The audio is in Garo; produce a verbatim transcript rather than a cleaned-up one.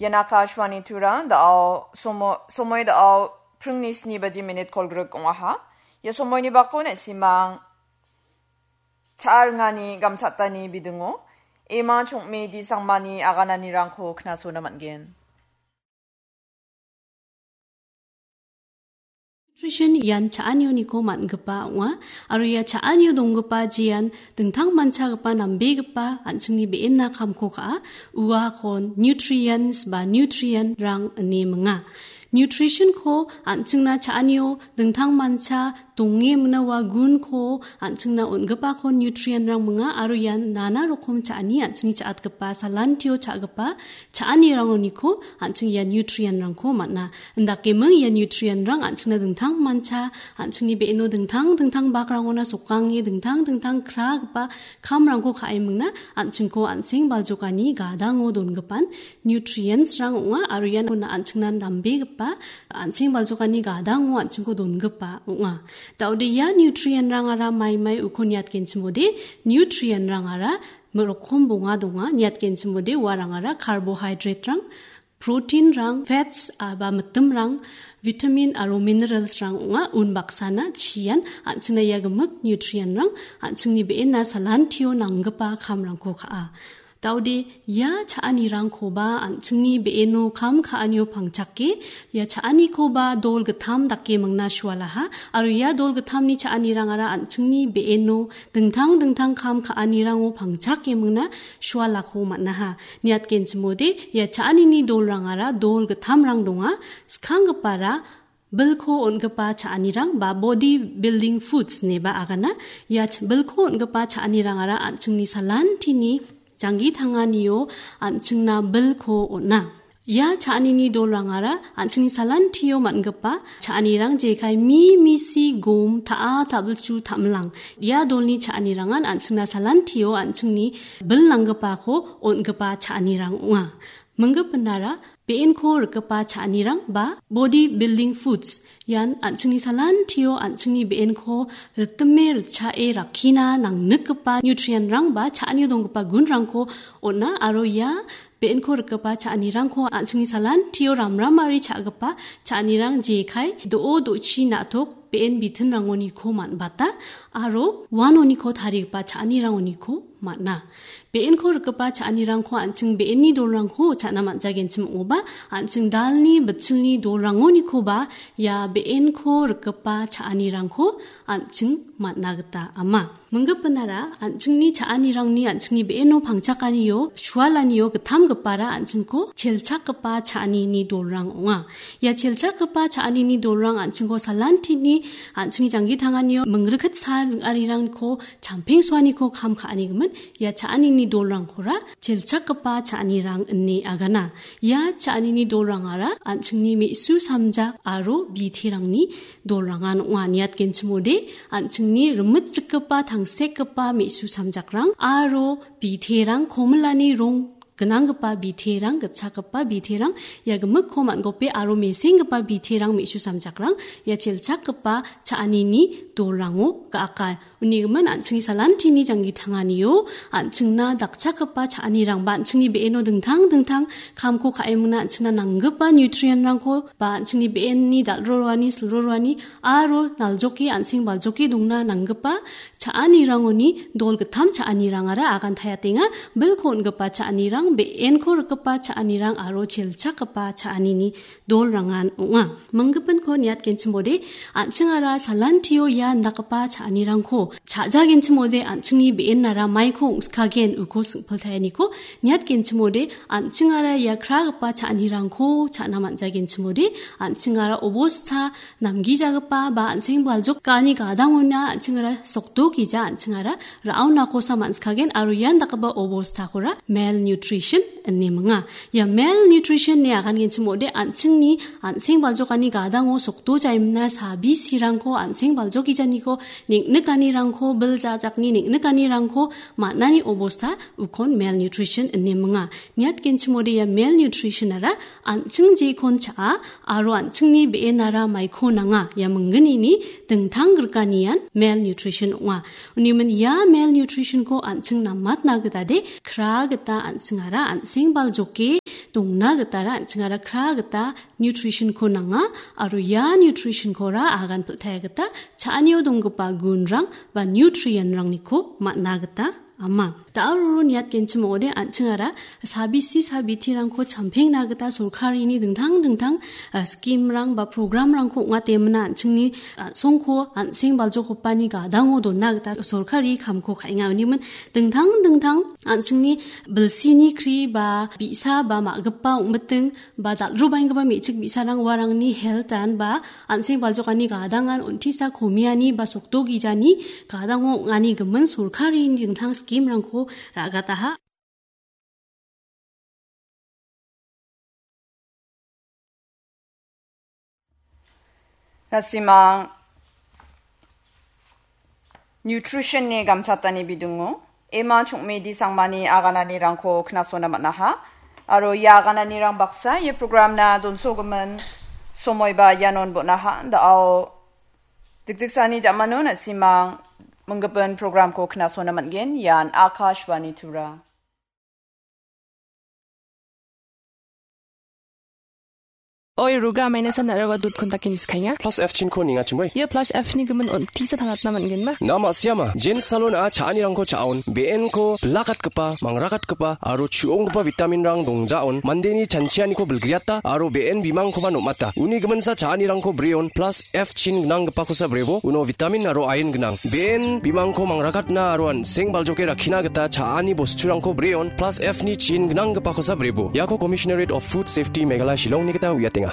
Ian Akashvani Tura, da·ao somo-, somoi da·ao pringni sni baji minit kolgrik ong·aha. Ia somoini bako na·simang cha·a ringani gamchatani bidingo, ema chongme di sangmani agananirangko knasona man·gen. Nutrition ian cha·anioniko man·gipa ong·a, aro ia cha·anio donggipa jean dingtang manchagipa nambegipa an·chingni be·enna kamko ka·a, uakon nutrients ba nutrient-rang ine minga. Nutrition-ko an·chingna cha·anio dingtang mancha donge mina ua gunko an·chingna on·gipako nutrient-rang minga, aro ian nana rokom cha·ani an·chingni cha·atgipa, salantio cha·gipa cha·anirangoniko an·ching ia nutrient-rangko man·a. Indakeming ia nutrient-rang an·chingna dingtang mancha, an·chingni be·eno dingtang dingtang bakrangona sokange dingtang dingtang kragipa kamrangko ka·emingna an·chingko an·seng baljokani gadango dongipan nutrients-rang ong·a, aro ian an·chingna nambegipa an·seng baljokani gadango an·chingko dongipa ong·a. Da·ode ia nutrient-rangara maimai uko niatgenchimode, nutrient-rangara rokom bonga donga, niatgenchimode uarangara carbohydrate-rang, protein-rang, fats aba mitimrang, vitamin aro minerals-rang ong·a, unbaksana chian an·chingna ia gimik nutrient-rang an·chingni be·enna salantio nanggipa kamrangko ka·a. Da·ode ia cha·anirangkoba an·chingni be·eno kam ka·anio pangchake, ia cha·anikoba dol gittam dake mingna sualaha, aro ia dol gittamni cha·anirangara an·chingni be·eno dingtang dingtang kam ka·anirango pangchake mingna sualako man·aha. Niatgenchimode ia cha·anini dolrangara dol gittamrang donga, skanggipara bilko on·gipa cha·anirang ba body building foods ineba agana. Ia ch-, bilko on·gipa cha·anirangara an·chingni salantini janggi tanganio an·chingna bilko on·a. Ia cha·anini dolrangara an·chingni salantio man·gipa cha·anirang jekai mi, misi, gom, ta·a, ta·bilchu, ta·milang. Ia dolni cha·anirangan an·chingna salantio an·chingni bil nanggipako on·gipa cha·anirang ong·a. Minggipinara be·enko rikgipa cha·anirang ba body building foods. Ian an·chingni salantio an·chingni be·enko ritime ritchae rakkina nangnikgipa nutrient-rang ba cha·anio donggipa gunrangko on·a, aro ia be·enko rikgipa cha·anirangko an·chingni salantio ramramari cha·gipa cha·anirang jekai do·o do·chi na·tok be·en bitinrangoniko man·bata aro uanoniko tarigipa cha·anirangoniko man·a. Be·enko rikgipa cha·anirangko an·ching be·enni dolrangko cha·na man·jagenchim ong·oba, an·ching dalni bitchilni dolrangonikoba ia be·enko rikgipa cha·anirangko an·ching man·a gita ama. Minggipinara an·chingni cha·anirangni an·chingni be·eno pangchakanio, sualanio gittamgipara an·chingko chelchakgipa cha·anini dolrang ong·a. Ia chelchakgipa cha·anini dolrang an·chingko salantini an·chingni janggi tanganio mingriket sal ring·arirangko champengsoaniko kam ka·anigimin ia cha·anini dolrangkora chelchakgipa cha·anirang ine agana. Ia cha·anini dolrangara an·chingni me·su samjak aro biterangni dolrangan ong·a. Niatgenchimode, an·chingni rimitjikgipa tangsekgipa me·su samjakrang aro biterang komilani rong gnanggipa biterang, gitchakgipa biterang, ia gimikko man·gope aro mesenggipa biterang me·su samjakrang ia chelchakgipa cha·anini dolrango ga·aka. Unigimin an·chingni salantini janggi tanganio an·chingna dakchakgipa cha·anirang ba an·chingni be·eno dingtang dingtang kamko ka·emingna an·chingna nanggipa nutrient-rangko ba an·chingni be·enni dal·roroani, silroroani aro naljoke an·seng baljoke dongna nanggipa cha·anirangoni dol gittam cha·anirangara agantayatenga, bilko on·gipa cha·anirang, be·enko rikgipa cha·anirang aro chelchakgipa cha·anini dolrangan ong·a. Minggipinko niatgenchimode, an·chingara salantio ia indakgipa cha·anirangko cha·jagenchimode, an·chingni be·ennara maiko ong·skagen uko singpiltaeniko niatgenchimode, an·chingara ia kragipa cha·anirangko cha·na man·jagenchimode, an·chingara obosta namgijagipa ba an·seng baljokani gadangona an·chingara sokdokija an·chingara ra·onakosa man·skagen aro ian dakgipa obostakora malnutrition ine minga. Ia malnutrition ine agangenchim ong·ode an·chingni an·seng baljokani gadango sokdojaimna sabisirangko an·seng baljokijaniko neng·nikanirangko bil jajakni neng·nikanirangko man·ani obosta ukon malnutrition ine minga. Niatgenchim ong·ode ia malnutrition-ara an·ching jekon cha·a aro an·chingni be·enara maiko nanga ia minggnini dingtang griganian malnutrition ong·a. Unigimin ia malnutrition-ko an·ching namatna gitade kra gita an·chingara an·seng baljoke dongna gitara an·chingara kra gita nutrition-ko nanga, aro ia nutrition-kora agan pil·taia gita cha·anio donggipa gunrang ba nutrient-rangniko man·na gita ama. Da·o roro niatgenchim ong·ode an·chingara sabisi sabitirangko champengna gita sorkarini dingtang dingtang, ah, scheme-rang ba program-rangko ong·atemna an·chingni, ah, songko an·seng baljokgipani gadango donna gita sorkari kamko ka·enga. Unimin dingtang dingtang an·chingni bilsini kri ba bi·sa ba ma·gipa ong·miting ba dal·rubaenggipa me·chik bi·sarang uarangni health-an ba an·seng baljokani gadangan on·tisa komiani ba sokdogijani gadango ong·ani gimin sorkarini dingtang scheme-rangko ra·gataha. Na·simang nutrition-ni gamchatani bidingo ema chongmidi sangmani agananirangko knasona man·aha. Aro ia agananirang baksa ia program-na donsogimin somoiba ianon bon·aha. Da·o dikdiksani ja·mano na·simang minggipin program-ko knasona man·gen. Ian Akashvani Tura. Oi, Ruga, amaina san araba dut kontak kini skainga. Plus F chinko ninga chimoi. Ia plus F ni gimin on tisa tangatna man·genba? Na ma·siama, Jen Salon-a cha·anirangko cha·on, B N-ko bilakatgipa, mangrakatgipa, aro chu·onggipa vitamin-rang dongjaon, mandeni chanchianiko bilgriata, aro B N bimangkoba nom·ata. Uni giminsa cha·anirangko breon, plus F chin gnanggipakosa brebo, uno vitamin aro iron gnang. B N bimangko mangrakatna aro an·seng baljoke rakkina gita cha·ani bosturangko breon, plus F ni chin gnanggipakosa brebo. Iako Commissionerate of Food Safety Meghalaya Shillongni gita uiatenga.